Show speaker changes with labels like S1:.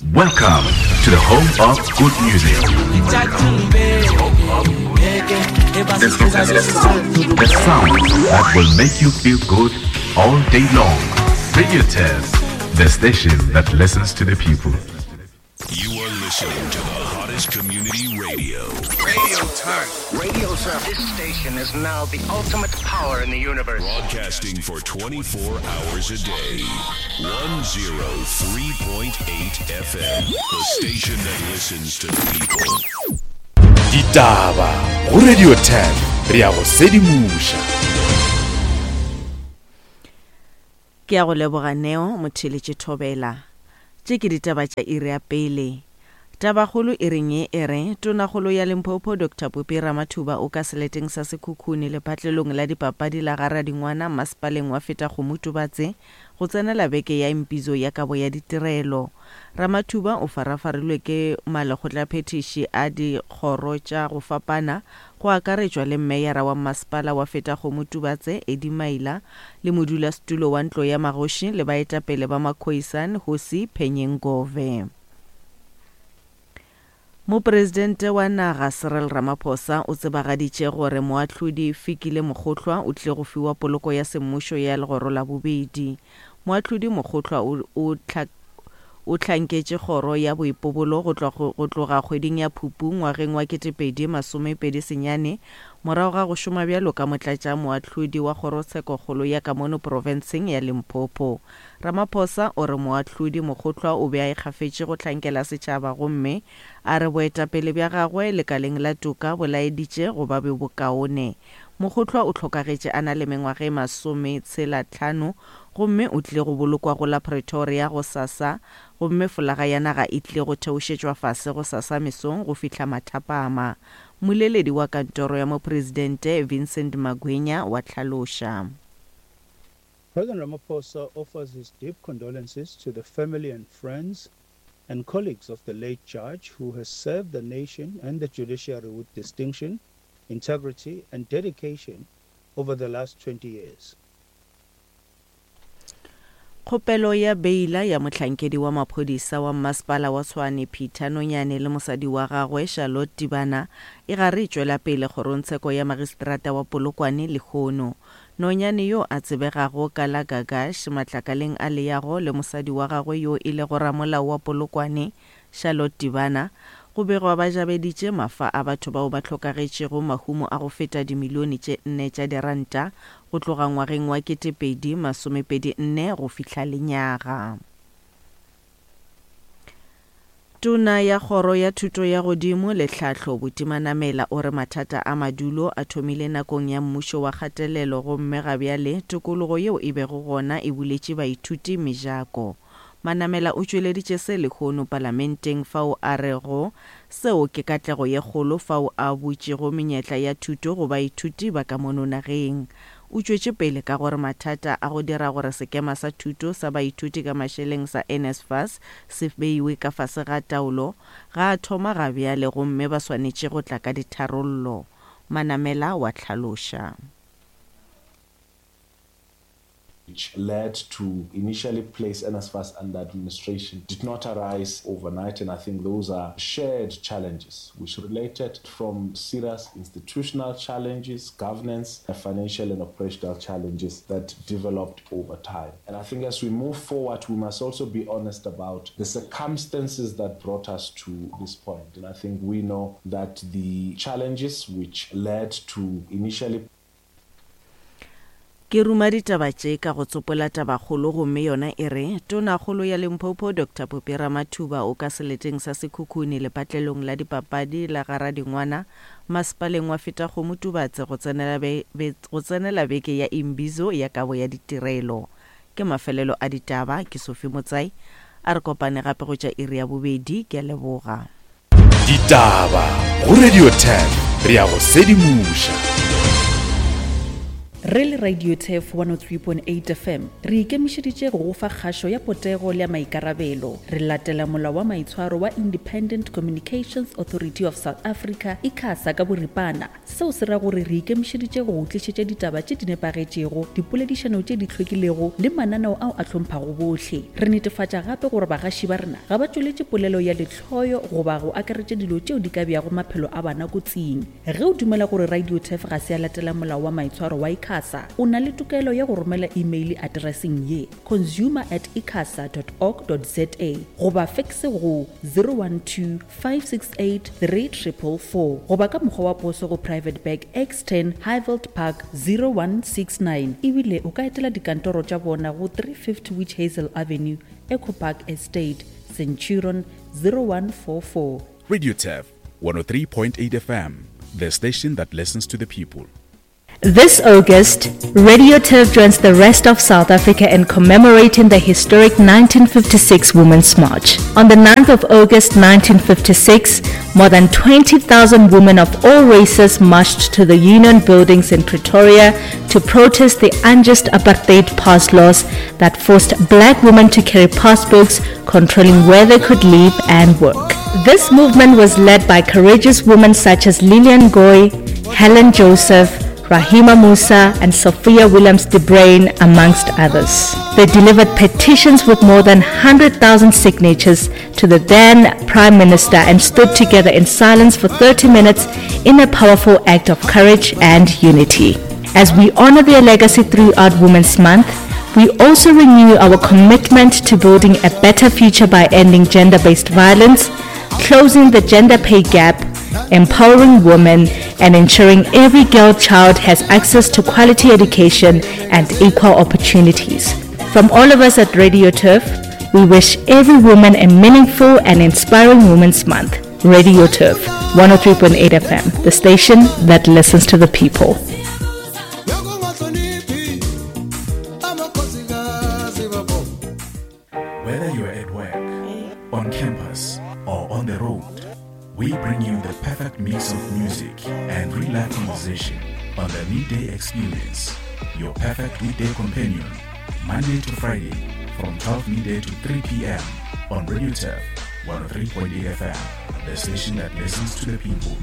S1: Welcome to the home of good music. The sound that will make you feel good all day long. Radio 10, the station that listens to the people.
S2: You are listening to the hottest community radio.
S3: Radio Turn.
S4: Radio Turn. This station is now the ultimate power in the universe.
S2: Broadcasting for 24 hours a day. 103.8 FM. The station that listens to the people.
S5: Ditaba go Radio 10 re ya go sedimoša.
S6: Ke a go leboga Neo Motheeletši Thobela. Tše ke ditaba tša iri ya pele. Tabakgolo iring ye e re, Tonakgolo ya Limpopo Doctor Phophi Ramathuba o ka seleteng sa Sekhukhune lepatlelong la dipapadi la ga Radingwana masepaleng wa Fetakgomo Tubatse go tsenela beke ya impizo ya kabo ya ditirelo. Ramathuba o farafarilwe ke malekgotlaphethiši a dikgoro tša go fapana go akaretšwa le Mmeyara wa Mmasepala wa Fetakgomo Tubatse, Eddie Maila, le modulasetulo wa Ntlo ya Magoši le baetapele ba Makhoisan, Hosi Phenye Ngove. Mopresidente wa naga Cyril Ramaphosa o tsebagaditše gore moahlodi Fikile Mokgohlwa o tlile go fiwa poloko ya semmušo ya legoro la bobedi. Moahlodi Mokgohlwa o, o, o hlanketše kgoro ya boipobolo go tloga, go tloga kgweding ya Phupu ngwageng wa 2029 morago ga go šoma bjalo ka motlatšamoahlodi wa kgorotshekokgolo ya ka mono profenseng ya Limpopo. Ramaphosa o re moahlodi Mokgohlwa o be a ikgafetše go hlankela setšhaba gomme a re boetapele bja gagwe lekaleng la toka bo laeditše go ba bjo bokaone. Mokgohlwa o hlokagetše a na le mengwaga e masometshela-tlhano gomme o tlile go bolokwa go la Pretoria gosasa gomme folaga ya naga e tlile go theošetšwa fase gosasa mesong go fihla mathapama. Mmoleledi wa kantoro ya Mopresidente Vincent Magwenya wa hlaloša.
S7: President Ramaphosa offers his deep condolences to the family and friends and colleagues of the late judge who has served the nation and the judiciary with distinction, integrity and dedication over the last 20 years.
S6: Kgopelo ya beila ya mohlankedi wa maphodisa wa mmasepala wa Tshwane Peter Nonyane le mosadi wa gagwe Charlotte Tibana e gare e tšwela pele kgorongtsheko ya magistrata wa Polokwane lehono. Nonyane yo a tsebegago ka la Gagash matlakaleng a leago le mosadi wa gagwe yo e lego ramolao wa Polokwane Charlotte Tibana, go begwa ba jabeditše mafa a batho bao ba hlokagetšego mahumo a go feta dimilione tše nne tša diranta go tloga ngwageng wa 2024 go fihla lenyaga. Tona ya Kgoro ya Thuto ya Godimo le Tlhahlo, Buti Manamela o re mathata a madulo a thomile nakong ya mmušo wa kgatelelo gomme gabjale tokologo yeo e bego gona e buletše baithuti mejako. Manamela o tšweleditše se lehono Palamenteng fao a rego seo ke katlego ye kgolo fao a butšego menyetla ya thuto go baithuti ba ka mono nageng. O tšwetše pele ka gore mathata a go dira gore sekema sa thuto sa baithuti ka mašeleng sa NSFAS se beiwe ka fase ga taolo ga a thoma ga bjale gomme ba swanetše go tla ka ditharollo. Manamela wa hlaloša.
S8: which led to initially place NSFAS under administration did not arise overnight, and I think those are shared challenges which related from serious institutional challenges, governance, financial and operational challenges that developed over time. And I think as we move forward, we must also be honest about the circumstances that brought us to this point. And I think we know that the challenges which led to initially
S6: Ke ruma ditaba tše ka go tsopola tabakgolo gomme yona e re, Tonakgolo ya Limpopo Doctor Phophi Ramathuba o ka seleteng sa Sekhukhune lepatlelong la dipapadi la ga Radingwana masepaleng wa Fetakgomo Tubatse go tsenela go tsenela beke ya Imbizo ya kabo ya ditirelo. Ke mafelelo a ditaba, ke Sophie Motsai. A re kopane gape go tša iri ya bobedi. Ke a leboga.
S5: Ditaba go Radio 10 re ya go sedimoša.
S3: Re le Radio Turf 103.8 FM, re ikemišeditše go go fa kgašo ya potego le ya maikarabelo. Re latela Molao wa Maitshwaro wa Independent Communications Authority of South Africa, ICASA, ka boripana. Seo se ra gore re ikemišeditše go go tlišetša ditaba tše di nepagetšego, dipoledišano tše di hlwekilego le mananeo ao a hlomphago bohle. Re netefatša gape gore bagaši ba rena ga ba tšweletše polelo ya lehloyo goba go akaretša dilo tšeo di ka beago maphelo a bana kotsing. Ge o dumela gore RadioTurf ga se ya latela molao wa maitshwaro wa ICASA, o na le tokelo ya go romela imeile atereseng ye, consumer at icasa dot org dot za goba fekse go 012 568 3444 goba ka mokgwa wa poso go Private Bag X10 Highveld Park 0169 ebile o ka etela dikantoro tša bona go 350 Witch Hazel Avenue, Echo Park Estate, Centurion 0144.
S5: RadioTurf 103.8 FM, the station that listens to the people.
S9: This August, Radio Turf joins the rest of South Africa in commemorating the historic 1956 Women's March. On the 9th of August 1956, more than 20,000 women of all races marched to the Union buildings in Pretoria to protest the unjust apartheid pass laws that forced black women to carry passbooks controlling where they could live and work. This movement was led by courageous women such as Lillian Goy, Helen Joseph, Rahima Moosa and Sophia Williams de Bruyn, amongst others. They delivered petitions with more than 100,000 signatures to the then Prime Minister and stood together in silence for 30 minutes in a powerful act of courage and unity. As we honor their legacy throughout Women's Month, we also renew our commitment to building a better future by ending gender-based violence, closing the gender pay gap, empowering women, and ensuring every girl child has access to quality education and equal opportunities. From all of us at Radio Turf, we wish every woman a meaningful and inspiring Women's Month. Radio Turf, 103.8 FM, the station that listens to the people.
S1: Whether you're at work, on campus, or on the road, we bring you the perfect mix of music and real life conversation on the Midday Experience, your perfect weekday companion, Monday to Friday from 12 midday to 3 p.m. on Radio Turf 103.8 FM, the station that listens to the people.